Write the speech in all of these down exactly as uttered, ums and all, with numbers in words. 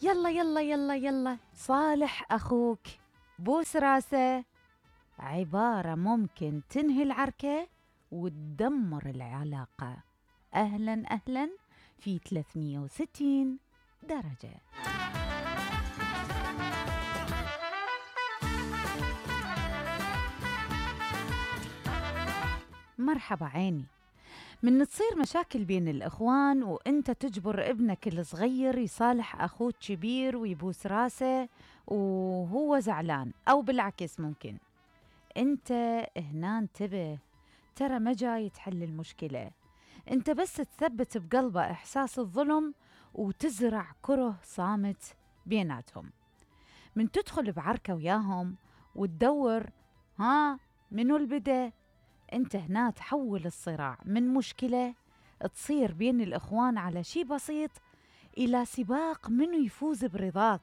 يلا يلا يلا يلا صالح أخوك، بوس راسه. عبارة ممكن تنهي العركة وتدمر العلاقة. أهلا أهلا في ثلاثمية وستين درجة. مرحبا عيني. من تصير مشاكل بين الإخوان وإنت تجبر ابنك الصغير يصالح أخوه كبير ويبوس راسه وهو زعلان، أو بالعكس ممكن إنت هنا انتبه، ترى ما جاي تحل المشكلة، إنت بس تثبت بقلبه إحساس الظلم وتزرع كره صامت بيناتهم. من تدخل بعركة وياهم وتدور ها منو البدأ، انت هنا تحول الصراع من مشكلة تصير بين الإخوان على شي بسيط إلى سباق منو يفوز برضاك،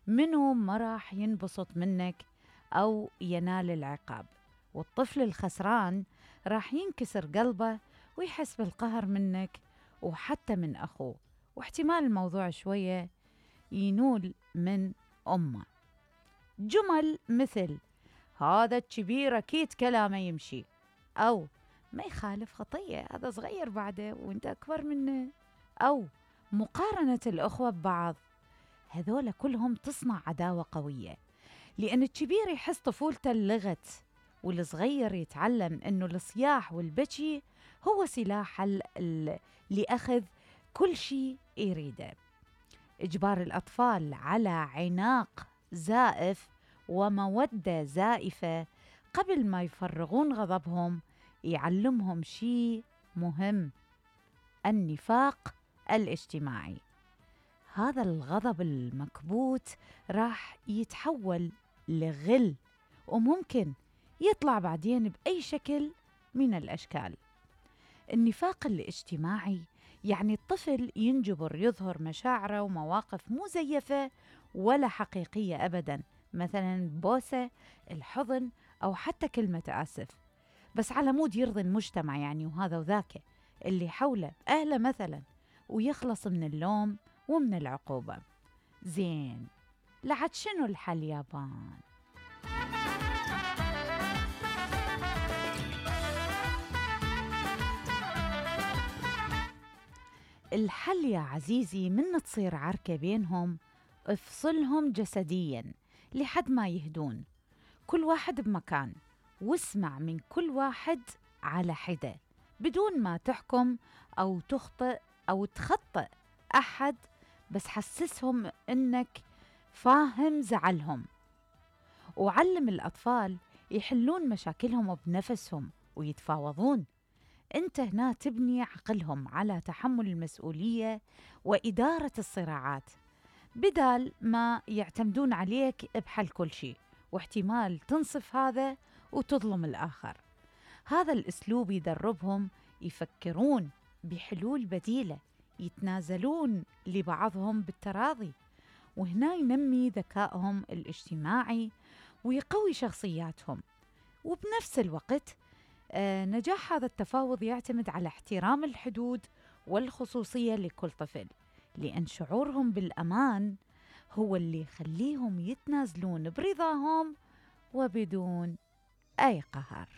منو ما راح ينبسط منك أو ينال العقاب. والطفل الخسران راح ينكسر قلبه ويحس بالقهر منك وحتى من أخوه، واحتمال الموضوع شوية ينول من أمه. جمل مثل هذا الكبير أكيد كلامه يمشي، أو ما يخالف خطية هذا صغير بعده وانت أكبر منه، أو مقارنة الأخوة ببعض، هذول كلهم تصنع عداوة قوية، لأن الكبير يحس طفولته اللغت والصغير يتعلم أنه الصياح والبكي هو سلاح لأخذ كل شيء يريده. إجبار الأطفال على عناق زائف ومودة زائفة قبل ما يفرغون غضبهم يعلمهم شيء مهم: النفاق الاجتماعي. هذا الغضب المكبوت راح يتحول لغل وممكن يطلع بعدين بأي شكل من الأشكال. النفاق الاجتماعي يعني الطفل ينجبر يظهر مشاعره ومواقف مزيفة ولا حقيقية أبداً، مثلاً بوسة، الحضن، أو حتى كلمة آسف، بس على مود يرضي المجتمع يعني وهذا وذاك اللي حوله أهله مثلاً، ويخلص من اللوم ومن العقوبة. زين، لعد شنو الحل يابان؟ الحل يا عزيزي من تصير عركة بينهم افصلهم جسدياً لحد ما يهدون، كل واحد بمكان، واسمع من كل واحد على حدة بدون ما تحكم أو تخطئ أو تخطئ أحد، بس حسسهم إنك فاهم زعلهم. وعلم الأطفال يحلون مشاكلهم بنفسهم ويتفاوضون. أنت هنا تبني عقلهم على تحمل المسؤولية وإدارة الصراعات بدال ما يعتمدون عليك بحل كل شيء، واحتمال تنصف هذا وتظلم الآخر. هذا الأسلوب يدربهم يفكرون بحلول بديلة، يتنازلون لبعضهم بالتراضي، وهنا ينمي ذكائهم الاجتماعي ويقوي شخصياتهم. وبنفس الوقت آه نجاح هذا التفاوض يعتمد على احترام الحدود والخصوصية لكل طفل، لأن شعورهم بالأمان هو اللي يخليهم يتنازلون برضاهم وبدون أي قهر.